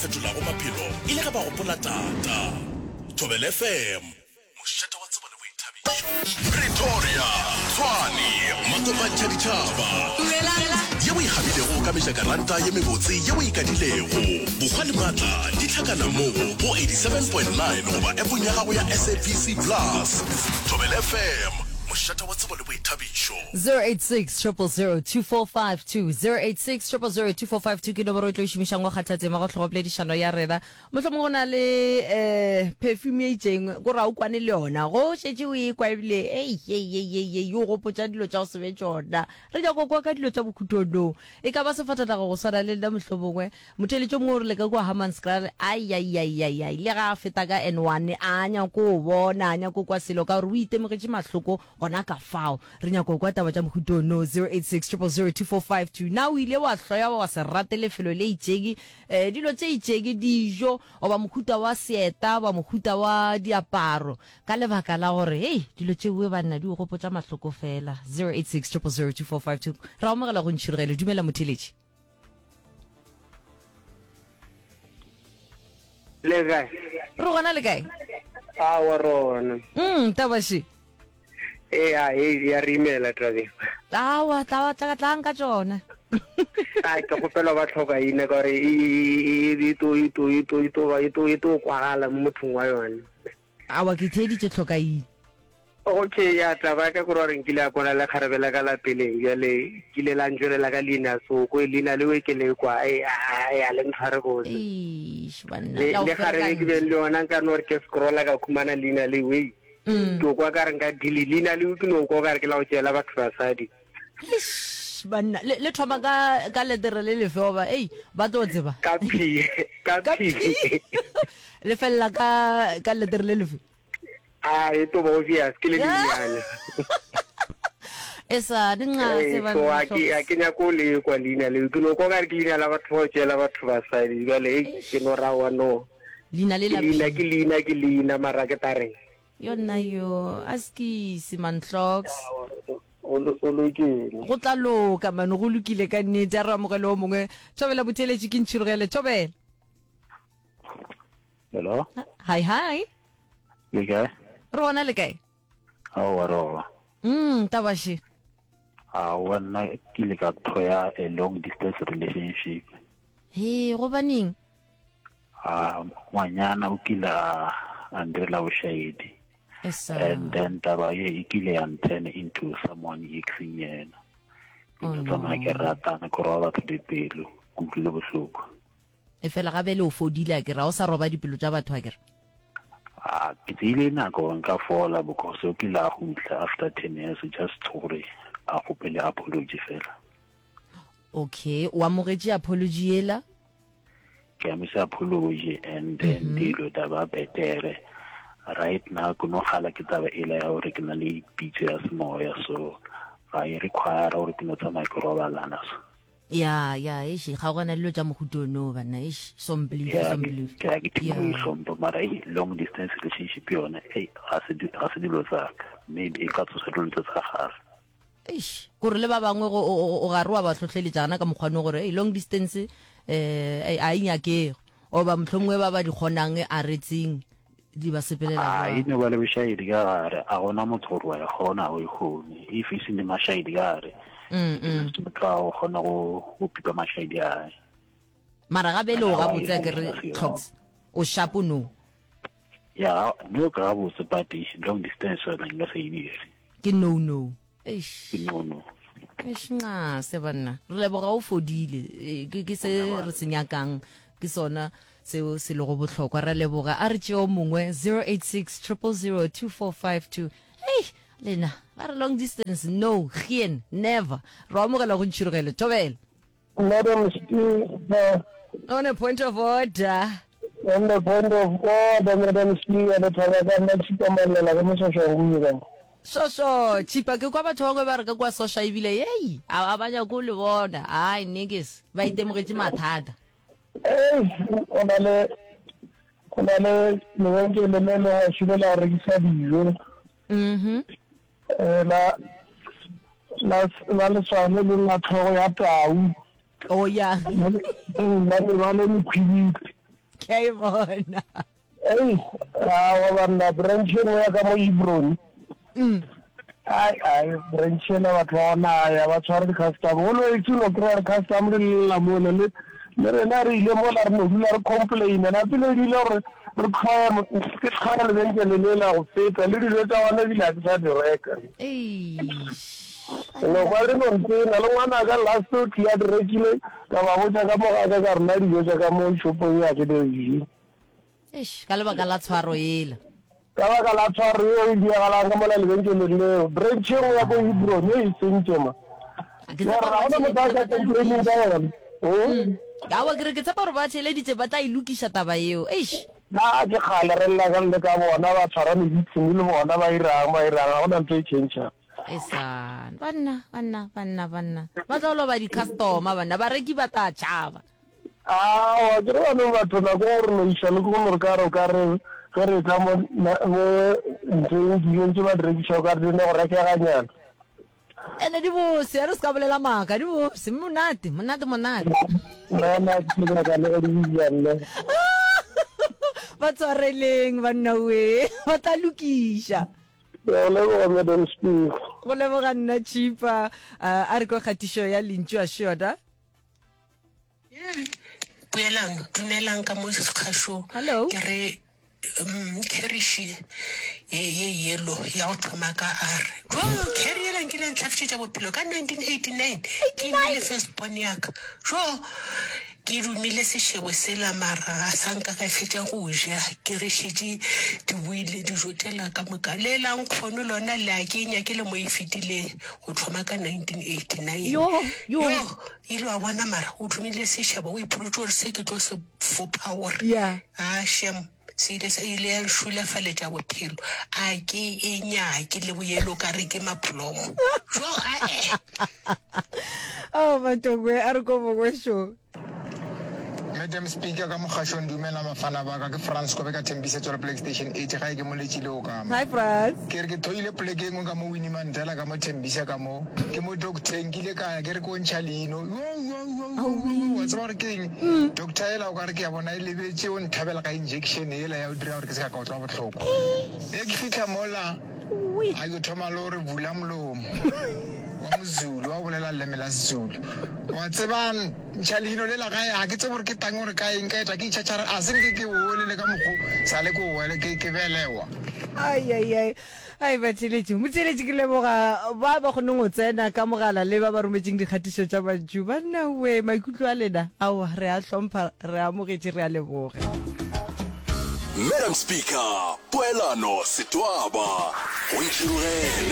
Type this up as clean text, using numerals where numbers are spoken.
fetolago maphelo e le ge ba gopola tata. Thobela FM, mošate wa tsebo le boithabišo. Pretoria, Tshwane, makopantšha ditšhaba. Ye o e kgabilego ka mejakaranta ye mebotse ye o e kadilego. Bokgwa le maatla di hlakana mo go 87.9 goba appong ya gago ya SABC Plus. Thobela FM, mošate wa tsebo le boithabišo. 086 000 2452 086 000 2452 ke nomoro e tlo e šomišang go kgatha tema go tlhogopoledišano ya rena. Mohlomongwe go na le um perfume e itšeng ko ra o kwane le yona go šetše o e kwa ebile ei ei ei ei ei o gopotša dilo tša go se be tšona. Re nyako kwa ka dilo tša bokhutono. E ka ba sefatanaga go swana le nna mohlomongwe. Motheeletši o mongwe o rile ka kua Hammanskraal aiaiaiaiai le ga a feta ka N1 a nyako o bona a nyako kwa selo ka gore o itemogetše mahloko gona ka fao. Re nyako kwa taba tša mohuta ono 086 000 2452. Na o ile wa hloya wa se rate lefelo le itšeng, eh, dilo tše itšeng, dijo goba mohuta wa seeta goba mohuta wa diaparo ka lebaka la gore hei dilo tšeoe banna di o gopotša mahloko fela? 086 000 2452. Ra amogela go ntšhirogelo. Dumela motheeletši. Le kae? Re gona le kae? Awa rona. Mm, tabaše. Ee, a e ya re imela tabeng. Awa, tla tla tlang ka tšona. A ke kgopela ba tlhoka ina ka gore e e to e to e to e to ba e to e to kwagala mo mothong wa yone. Awa ke theeditše tlhoka ina. Okay, ya taba ya ka kore gore nkile a kwana le kgarebe la ka la peleng bjale kile la ntšwelela ka leina soko leina leo ke le kwa e a le ntshware botse. Eish banna. Le le kgarebe ke beng le yona nka no re ke scrolla ka khumana leina leo ei. Mm. Ke kwa ka re nka dili leina leo ke no kwa ka re ke la go tšeela batho basadi. Eish banna le le thoma ka ka letere le lefe goba ei ba tlo tseba. Ka P ka P. Le felela ka ka letere le lefe. A e to ba obvious ke le lenyane. E sa di nxa se ba So a ke a ke nyako le kwa leina le ke no kwa ka re ke leina la batho ba tšela batho basadi jale e ke no ra wa no. Leina le la leina ke leina ke leina mara ke tare. Yo nna yo a skisi man hloks. O lokile. Go tla loka man go lokile ka nnete a re amogele o mongwe. Thobela botheletši ke ntšhirogele thobela. Hello. Hi hi. Le kae? Re gona le kae? Aowa re gona. Mm, tabaše. Aowa nna ke ile ka thoya a long distance relationship. He, gobaneng? A ngwanyana o kile a a ndirela bošaedi. Esa. And then taba ye e kile ya turn into someone e ke seng yena. Ke Oh, no tsamaya ke no. ratana ke roba batho dipelo, ke utlwile bohloko. Efela ga bjale o fodile akere, ga o sa roba dipelo tša batho akere? A ke tseile nako nka fola because o kile a gutla after 10 years just gore a kgopele apology fela. Okay, o amogetše apology yela? Ke amogetše apology and then mm -hmm. dilo da ba betere. Right now ke no gala ke taba ela ya gore ke na le pitso ya semoya so ga e require gore ke no tsamaya ke robalana so. Ya, ya, eish, ga gona dilo tša mohuta ono banna, eish, sombelief, Ya, ke sombelief. ke ya ke thoma go Ya. ihlompha mara ei long distance relationship yone ei ga se di- ga se dilo tsa ka maybe e ka tsosa dilo tse tsa gage Eish, kore le ba bangwe go o o- o gare wa ba hlohleletša gana ka mokgwa no gore ei long distance eh ei, a e nyakege oba mohlomongwe ba ba di kgonang a re tseng di ba sepelela a e jwang. no ba le bošaedi ka gare a gona motho gore wa e kgona o e kgone if e se ne mašaedi ka gare Mm, mm. motho a o kgona go go pipa mašaedi a Mara ga bele o Ana wa gabotse e a ke re kgona, se Tlhoks o shapo no. ya no ka gabotse but long distance yona nka se e dire Ke no no. Eish. Ke no no. Eish nxase banna. Re leboga o fodile. E, Ke ke se re se nyakang. Ke sona seo se lego bohlokwa. Re leboga. A re tšeo o mongwe 086 000 2452. Hey, lena ba re long distance no, geen, never. Re amogela go ntšhirogele. Thobela. Madam Speaker. On a point of order. On the point of order, Madam Speaker, le thaba ka nna Tšhipa Mallela ka mo Soshanguve. Soso, Tšhipa, ke kwa batho bangwe ba re ka kwa Sosha ebile yei, a ba nyake go le bona. Ai, niggas, ba itemogetše mathata. Ei, go na le go na le lebenkele le le gaufi le la go rekisa dijo. Mhm. Eh, la la la leswane le la tlhogo ya tau. Oh ya. La lebale mokhwibidu. Ke a e bona. Ei, aowa banna, branch e nngwe ya ka mo Hebron. Ai, ai, branch ela batho ba gona ai, ga ba tshware di-customer. Always o no kry-a di-customer di lla mola, le, le rena re ile mola re no dula re complaina. Napile e bile gore re tlhoye, ke tlhoya lebenkele lela go feta, le dijo tša gona ebile ga ke sa di reka. Eish. No kwa le no ntena, le ngwanaka last o tlile a di rekile, ka ba botša ka mo ga ka ka re nna dijo tša ka mo shopong ye ga ke di je. Eish, ka lebaka la tshwaro yela. Ka baka la tshwaro yeo e diagalang ka mola lebenkeleng leo. Branch e nngwe ya ko Hebron e e sentše ma. Ke Ya tshepa re ga gore gona motho a ka ba tla complaining ka lokiša. yona. Hmm? Aowa, ke re ke tshepa gore ba theeleditše ba tla e lokiša taba yeo. Eish. Na ke kgale re lla ka le ka bona ba tshwara meeting le bona ba irang ba irang ga gona ntho e changang. Esan, banna, banna, banna, banna. Ba tla loba di-customer banna, bareki ba tla tšhaba. Aowa, ke re baneng batho nako e re no iša le ko no re ka re o ka re ge re etla mo mo ntlong dijong tše ba di rekiša o ka re di no go rekeganyana. Ene di bose, a re se ka bolela maaka, di bose, monate, monate, monate. Nna na ke nyaka le go di ja nne. Ba tshwareleng banna we, ba tla lokiša. Ke a go leboga Madam Speaker. Go leboga nna Chipa. A re kwe kgatišo ya Lentšu Assured. Poelano, dumelang ka mo kgašong. Hello. Ke re mm, kheriši ye ye yellow ya go thoma ka R. Jo, kheri yela nkile ya ntlhafišetša bophelo ka 1989. Ke imile first born ya ka. Jo, ke dumile sešebo sela mara ga sa nka ka fetša go ja. Ke re šetše di boile dijo tšela ka moka. Le la nkgono lona le a ke nyake le mo e fetileng go thoma ka 1989. Yo, yo. Yo, Ile wa bona mara o thomile sešebo o ipolotše gore se ke tlo se fopha gore Yeah. a shem se ile sa ile ya nšulafaletša bophelo a ke e nyake le boyelo ka re ke maplomo jo ae Oh, Matokwe, a re ko bongwe šo. Madam Speaker ka mogašong dumela mafana ba ka ke Frans Kobe ka Thembisa Tswelopele Station 8 gae ke moletšile o kama Hi Frans. Ke re ke thoile poleke e nngwe ka mo Winnie Mandela ka mo Thembisa ka mo ke mo docteng ke ile ka ya ke re ko ntšha leino yo yo yo yo yo wa tseba gore ke eng doctor ela o ka re ke ya bona e lebetše o nthabela ka injection ela ya o dira gore ke se ka ka utlwa bohloko e ke fihla mola a yo thoma le gore bula molomo wa mozulu wa bolela leleme la sezulu wa tseba Ntšha leino lela gae, ga ke tsebe gore ke tang gore ka eng, ka eta ke itšhatšhara, a se nke ke ole le ka mokgo sa le ke wele ke, ke belewa. Ai, ai, ai, ai, batheeletši, motheeletši, ke leboga ba ba kgonneng go tsena ka mogala le ba ba rometšeng dikgatišo tša mantšu. Banna we, maikutlo a lena, aowa, re a hlompha, re amogetše, re a leboga. Madam Speaker, Poelano Setwaba, go ntšhirogele.